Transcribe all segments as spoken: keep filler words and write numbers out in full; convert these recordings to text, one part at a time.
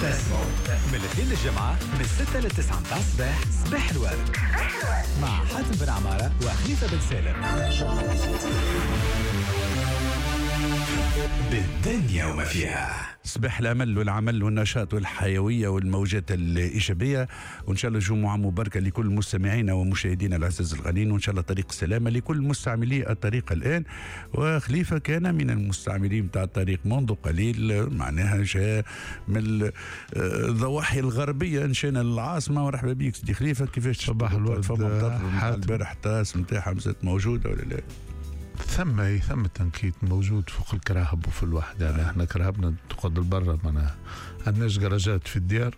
تسمعوا من الاثنين للجمعة من ستة للتسعة متاع الصباح، صباح الورد مع حاتم بن عمارة وخليفة بن سالم. بالدنيا وما فيها. صباح الأمل والعمل والنشاط والحيوية والموجات الإيجابية، وإن شاء الله جمعة مباركة لكل مستمعينا ومشاهدينا العزاز الغالين، وإن شاء الله طريق السلامة لكل مستعملي الطريق الآن. وخليفة كان من المستعملين بتاع الطريق منذ قليل، معناها جاء من الضواحي الغربية نشينا للعاصمة. ورحبا بيك سيدي خليفة، كيفاش صباح الورد؟ البارح التاس نتاعها مازالت موجودة ولا لا؟ ثم ثم تنكيت موجود فوق الكراهب وفي الوحدة. يعني احنا كراهبنا تقعد لبرا، معناها عندناش جراجات في الديار،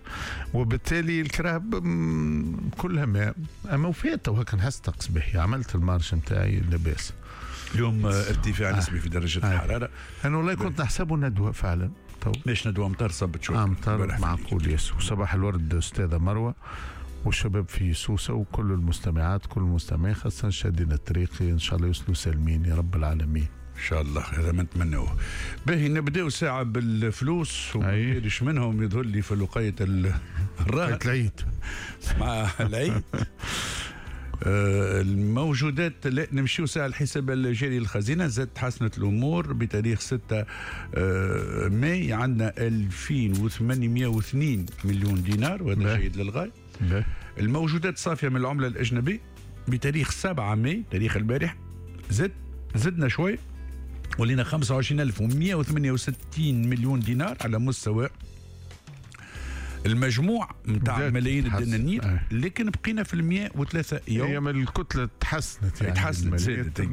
وبالتالي الكراهب كلها ماء. اما وفات وهكا نحس طقس باهي، عملت ال marche نتاعي لاباس. اليوم ارتفاع آه. نسبي في درجة آه. الحرارة. انا والله كنت نحسبه ندوة فعلا. تو ليش ندوة؟ امطار صبت شوي. امطار معقول ياسر. وصباح الورد استاذة مروة والشباب في سوسة وكل المستمعات كل المستمعين، خاصة شادين الطريق، إن شاء الله يوصلوا سالمين يا رب العالمين. إن شاء الله، هذا ما نتمنوه. باهي نبداو ساعة بالفلوس وما منهم يظهر لي في لقية الراهن العيد مع العيد. الموجودات لا نمشيو ساعة الحساب الجاري للخزينة، زاد تحسنت الأمور بتاريخ ستة ماي، عندنا ألفين وثمانمائة واثنين مليون دينار، وهذا جيد للغاية. الموجودات صافية من العملة الأجنبية بتاريخ سبعة ماي تاريخ البارح، زد زدنا شوي ولينا خمسة وعشرين ألف ومئة وثمانية وستين مليون دينار على مستوى المجموع نتاع ملايين الدنانير، لكن بقينا في المئة وثلاثة يوم. هي من الكتلة تحسنت يعني، تحسنت زادت.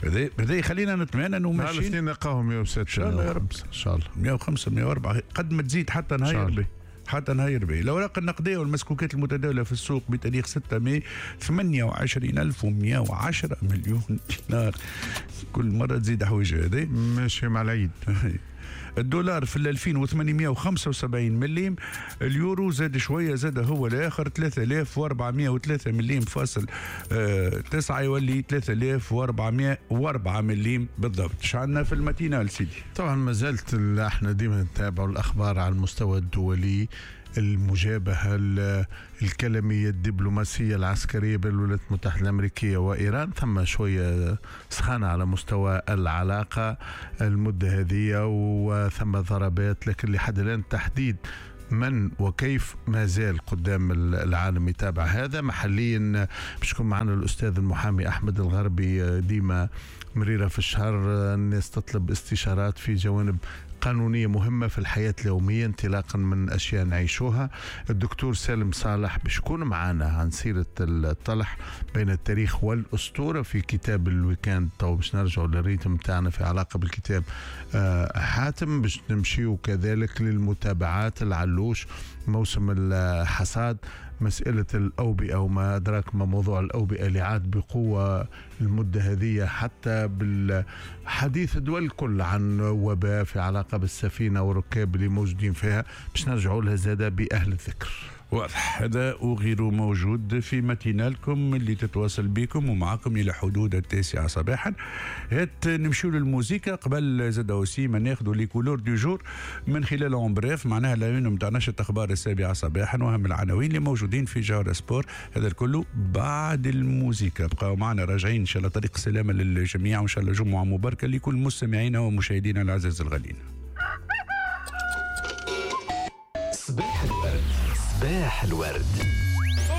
هذا هذا يخلينا نتمنى انه ماشيين الاثنين نلقاهم مئة وستة ان شاء الله يا رب، ان شاء الله مئة وخمسة مئة وأربعة قد ما تزيد حتى نهار به حتى نهار به. الأوراق النقدية والمسكوكات المتداولة في السوق بتاريخ ستة ماي ثمانية وعشرين ألف ومئة وعشرة مليون دينار، كل مرة تزيد حويجة هذه ماشي مع العيد. الدولار في ألفين وثمانمائة وخمسة وسبعين مليم، اليورو زاد شوية، زاد هو الآخر ثلاثة آلاف وأربعمائة وثلاثة مليم فاصل تسعة، يولي ثلاثة آلاف وأربعمائة وأربعة مليم بالضبط. اش عندنا في ال matinale سيدي؟ طبعا ما زالت احنا ديما نتابع الأخبار على المستوى الدولي، المجابهة الكلامية الدبلوماسية العسكرية بين الولايات المتحدة الأمريكية وإيران. ثم شوية سخانة على مستوى العلاقة المدة هذه، وثم ضربات، لكن لحد الآن تحديد من وكيف ما زال قدام العالم يتابع هذا. محليا باش يكون معنا الأستاذ المحامي أحمد الغربي، ديما مريرة في الشهر الناس تطلب استشارات في جوانب قانونية مهمة في الحياة اليومية انطلاقا من أشياء نعيشوها. الدكتور سالم صالح باش يكون معنا عن سيرة الطلح بين التاريخ والأسطورة في كتاب ال week-end. تو باش نرجعوا لل rythme تاعنا في علاقة بالكتاب حاتم، باش نمشيو كذلك للمتابعات العلوش موسم الحصاد، مسألة الأوبئة وما أدراك ما موضوع الأوبئة اللي عاد بقوة المدة هذه، حتى بالحديث الدول الكل عن وباء في علاقة بالسفينة والركاب اللي موجودين فيها، باش نرجعوا لها زادة بأهل الذكر. واضح، هذا وغيره موجود في ماتينالكم اللي تتواصل بكم ومعكم إلى حدود التاسعة صباحا. هات نمشيو للموسيقى قبل زاد aussi ما ناخذوا les couleurs du jour من خلال en bref، معناها la une نتاع نشرة اخبار السابعة صباحا واهم العناوين اللي موجودين في جوهرة سبور. هذا الكل بعد الموسيقى، بقاو معنا راجعين ان شاء الله. طريق السلامة للجميع وان شاء الله جمعة مباركة لكل مستمعينا ومشاهدينا العزاز الغالين. صباح الورد، صباح الورد.